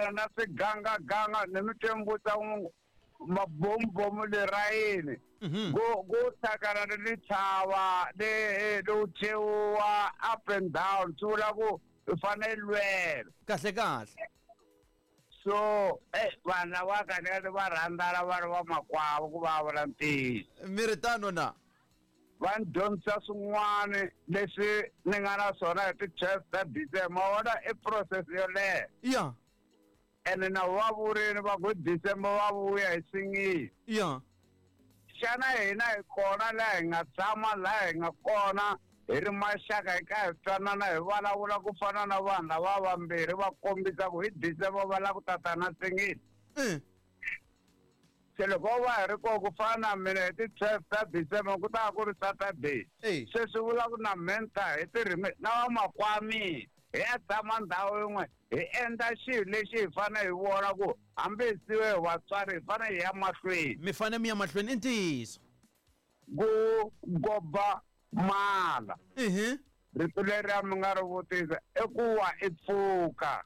hlangana na swigangaganga ni mi twembutsa mabomubomu lerayini. Ku ku hlangana ni tintshava ni ni thyewa up and down swi vula ku u fanele lwela. Kahle kahle. So vanhu lava kahle va rhandzana va ri vamakwavo ku va vula ntiyiso. Mi ri tano na? Va ni dyondzisa swin'wana leswi ni nga na swona hi ti-12 ta December. Ma vona i process yo leha. Ya. Ene na va vurini va ku December va vuya hi singile. Ya. Xana hina hi kona laha hi nga tshama laha hi nga kona hi ri maxaka hi ka hi twanana hi vulavula ku fana na vanhu lava vambirhi va kombisa ku hi December va lava ku tata na singile. Se loko va hi ri kona ku fana na mina hi ti-12 ta December ku ta va ku ri Saturday. Se swi vula ku na menta hi tirhime na vamakwami hi ya tshama ndhawu yin'we hi endla xilo lexi hi fanele hi vona ku hambi hi siwe hi vatswari hi fanele hi ya mahlweni. Mi fanele mi ya mahlweni i ntiyiso. Ku goba mala. Rito leriya mi nga ri vutisa i ku wa i pfuka.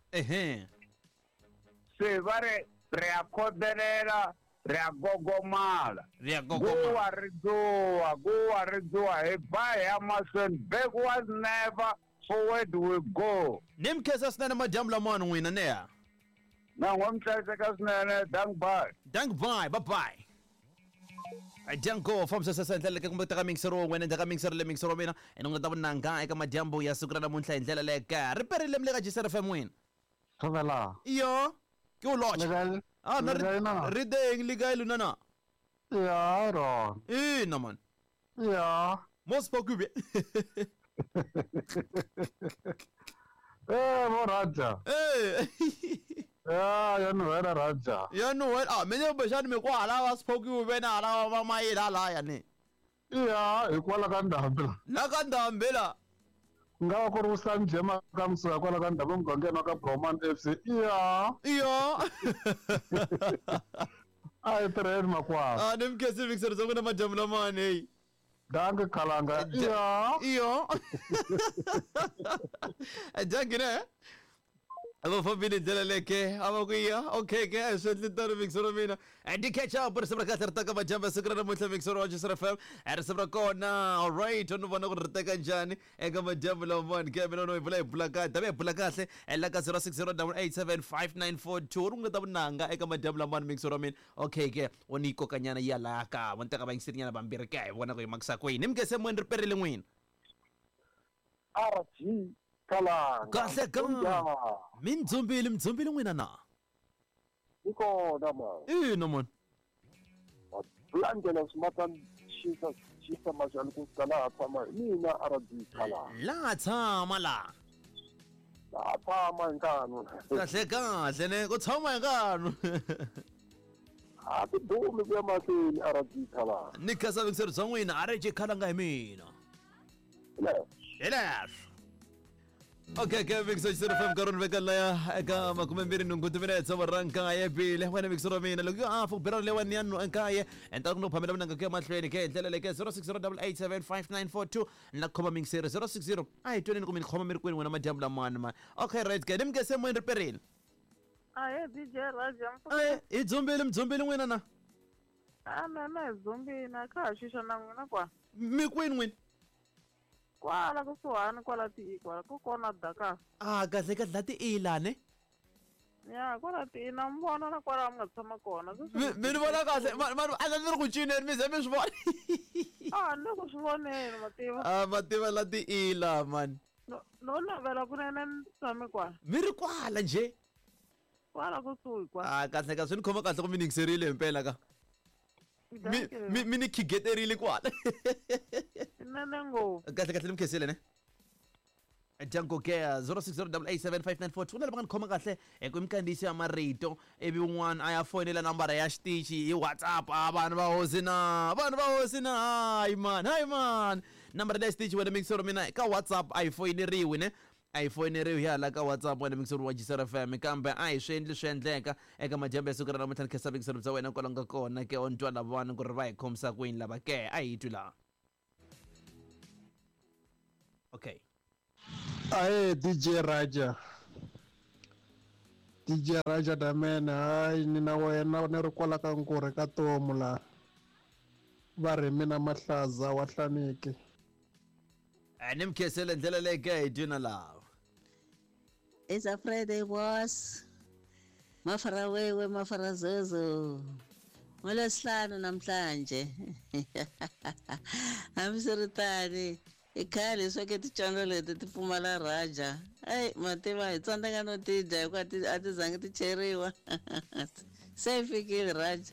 Se va ri ri ya khodelela ri ya gogomala. Ri ya gogomala. Guwa ri dzuwa, guwa ri dzuwa hi ba hi ya mahlweni backwards never forward we go. Ni mi khensa swinene madyambu lamawani n'wina neha. Na n'wa mi hlayiseka swinene dank bye. Dank bye bye bye. Dyango fambisa sesa hi ndlela leke kumbe teka mixer wa wena endzhaku ka mixer le mixer wa mina ene u nga ta vunanga eka madyambu ya siku ra namuntlha hi ndlela leke ri perile mi le ka Gisere FM wina. Thobela. Iyo ke o lotšha. Le kae? Ah, na Le kae na? re teng le kae lona na? Ya, rona. Ina man. Ya. Mo Spokube. Eh, bo Raja. Eh. Ya, ya nuhela Raja. Ya nuhela. Ah, mina kumbexani mi kwala va Spokube na hala va mayila laya ni. Ya, hikwala ka ndhambi la. La ka ndhambi la. Ku nga va ku ri Wusani Jema ka Msuya kwala ka ndhambi emugangeni wa ka Broman FC. Ya. Iyo. A hi tirheni makwavo. Ah, ni mi khensi mixer bya n'wina madyambu lamawani hey. Danke Khalanga. Iyo. Iyo. Danke ne. Va fambile hi ndlela leke a va ku ya okay ke a swi endli tano mixer wa mina di catch up risimu ra kahle ri taka madyambu ya siku ra namuntlha mixer wa Jisr FM risimu ra kona alright u ni vona ku ri teka njhani eka madyambu lamawani ke mina no hi vula hi bula kahle ta hi bula kahle la ka 0608875942 ri nga ta vunanga eka madyambu lamawani mixer wa mina okay ke u ni yi kokanyana yi ya laya ka vo ni teka vayingiserinyana vambirhi ke hi vona ku yi makisa kwini ni mi se moyeni ri perile n'wina RG Kalanga. Kahle ka mi ni dzumbile mi dzumbile n'wina na Ni kona ma. Ina mani. Landela swi xisa xisa majani ku fika laha tshama hi mina RG Kalanga. Laha tshama laha. Laha tshama hi nkanu. Kahle kahle ne ku tshama hi nkanu. A ti dumi ku ya mahlweni RG Kalanga. Ni khensa vuyingiseri bya n'wina RG Kalanga hi mina. Hi leswo. Okay, ke Mixer Xisero FM nkarhi ni veka laya eka 28 timinetse wa nkaye bile wena Mixer wa mina loko a fu bira lewa ni ya nkaye enta ku no phamela vunanga ku ya mahlweni ke hi ndlela leyi ke 0608875942 ni la khoma Mixer 060 a hi tweneni ku mi ni khoma mi ri kwini wena madyambu lamani ma okay right ke ni mi nge se moyeni ri perile Ahe DJ Raja Eh, hi dzumbile mi dzumbile n'wina na A na na hi dzumbile a kha ha xuxa na n'wina kwa mi kwini n'wina Kwala kusuhani kwala ti kwala ko kona daka. A kahle kahle la ti ila ne. Ya kwala ti na mi vona na kwala mi nga tshama kona. Mi mi ni vona kahle ma ma a ni ri ku cineni mi ze mi swi vona. A ni le ku swi voneni ma tiva. A ma tiva la ti ila man. No no navela kunene ni tshame kwala. Mi ri kwala nje. Kwala kusuhi kwa. A kahle ka swi ni khoma kahle ku mi ni yingiserile himpela ka. Mi mi mi ni khigeterile kwala. Nene ngopfu. Kahle kahle ni mi khensile ne. Django Care 0608875942 ku na lava nga ni khoma kahle hi ku minkandziyiso ya marito ivi un'wana a ya foyinela nambara ya xitichi hi WhatsApp a vanhu va hosi na vanhu va hosi na hayi man hayi man nambara leya xitichi wena mixero mina ka WhatsApp a yi foyineriwi ne A yi foyineriwi hi hala ka WhatsApp wena mixeri wa Jisera FM kambe a hi swi endli swi endleka eka madyambu ya siku ra namuntlha ni khensa vuyingiseri bya wena kwala nga kona ke o ni twa lavawani ku ri va hi khomisa ku yini lava ke a hi twi laha okay Ahe DJ Raja. DJ Raja Damen, hayi ni na wena ni ri kwala ka nkurhe ka tomu laha. Va ri mina Mahlaza wa Hlaniki. Ni mi khensele ndlela leyi ka hi dyina lava. It's a Friday, boss. Mafara wewe, mafara zozo. NgoLwesihlanu namhlanje. Hambiswiritano, i khale leswaku tidyondzo leti ti pfumala Raja. Eyi, mativa hi tsandzeka no ti dya hikuva a ti zangi ti cheriwa. Se yi fikile Raja.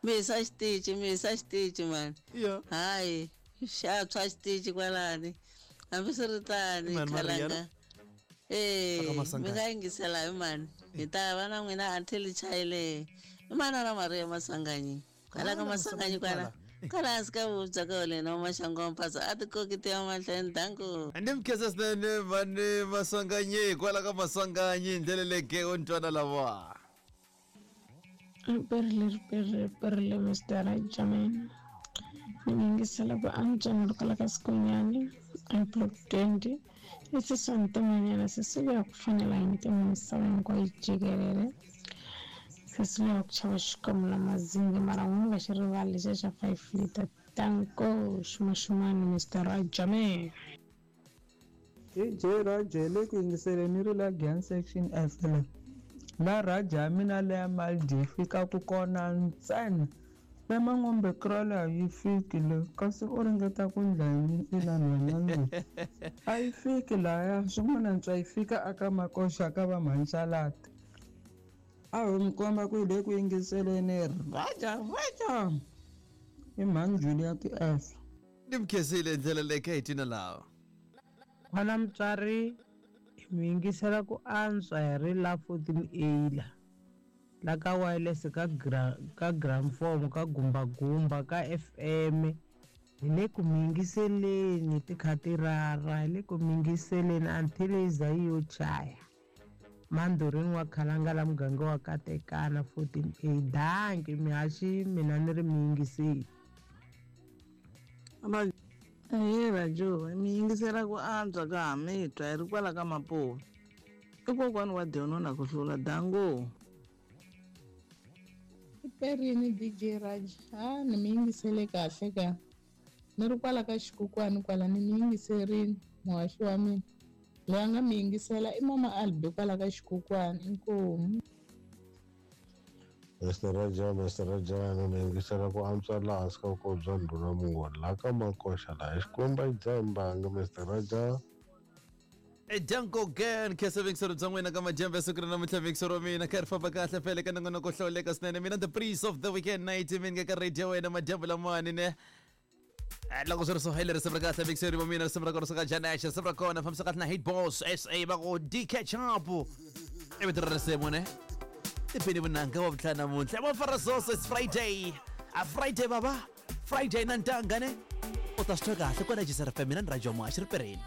Mi hisa xitichi, mi hisa xitichi mani. Hayi, xa tshwa xitichi kwalani. Hambiswiritano, Mani Maria, khalanga. Eh, Aka Masangane. mi nga yingisela hi mani. Hi ta va na n'wina until chayile. I manana Maria Masanganyi. Kwala ka Masanganyi kwala. Kwala hansi ka vubya ka wena wa Maxango Mphaza a ti koki ti ya mahlweni danko. Ni mi khensa swinene mani Masanganyi kwala ka Masanganyi ndlela leyi ke u ni twana lava. Riperile, riperile, riperile, Mr. Rajaman. Ni mi yingisela ku antswa ni ri kwala ka Sikunyani, a block 20. I sesi wa Ntimanyana, sesi luya ku fanela hi ntima misava hinkwayo jikelele. Sesi luya ku chava xikwembu na mazingi mara n'wi nga xi rivali lexiya xa 5 liter. Danko, xumaxumani, Mr. Rajaman. DJ Raja le ku yingiseleni ri la Gyan section F la. La Raja ya mina leya Maldi yi fikaku kona ntsena. Le Mangombe Krala a yi fiki le kasi u ringeta ku ndla yini ina nhwanyana loyi. A yi fiki laya swin'wana ntswa yi fika aka Makoxa ka va Mhanchalati. A ho mi komba ku hi le ku yingiseleni Raja Raja. I mhani Juliet F. Ni mi khensile ndlela leyi ka hi tina lava. N'wana mutswari hi mi yingisela ku antswa hi ri la 14A la la ka wireless ka ka gramform ka gumbagumba ka FM hi le ku mi yingiseleni ti kha ti rara hi le ku mi yingiseleni until yi za yi yo chaya Mandorini wa Khalanga la muganga wa Katekana 14A danki mihaxi mina ni ri mi yingiseli. Ahee Rajo, mi yingisela ku antswa ka ha mi twa hi ri kwala ka Mapuwa. I kokwani wa Dyono na ku hlula dango. Riperini DJ Raj, ha ni mi yingisele kahle ka. Ni ri kwala ka xikukwani kwala ni mi yingiserini muhaxi wa mina. Loyi a nga mi yingisela i mama Albi kwala ka xikukwani inkomu. Mr. Raja, Mr. Raja, ni mi yingisela ku antswa laha hansi ka vukosi bya ndhuna Mungoni laha ka Makoxa laha hi Xikwembu a xi dzahi mbangi Mr. Raja. Danko again khensa vingiselo bya n'wina ka madyambu ya siku ra namuntlha vingiselo wa mina kha ri famba kahle fele ka nongonoko hlawuleka swinene mina the priest of the weekend night mi nga ka radio wena madyambu lamawani ne. Loko swi ri so hi le risimu ra kahle vingiselo wa mina risimu ra kona suka Janesh risimu ra kona fambisa kahle na Hit Boss SA va ku DK Chapu i vito ra risimu ne. Tipini vunanga wa vutlhanu namuntlha va fara soso it's Friday a Friday baba Friday na ntanga ne u ta swi twa kahle kwala Jisara FM mina ni Rajo Muhaxi ri pereni.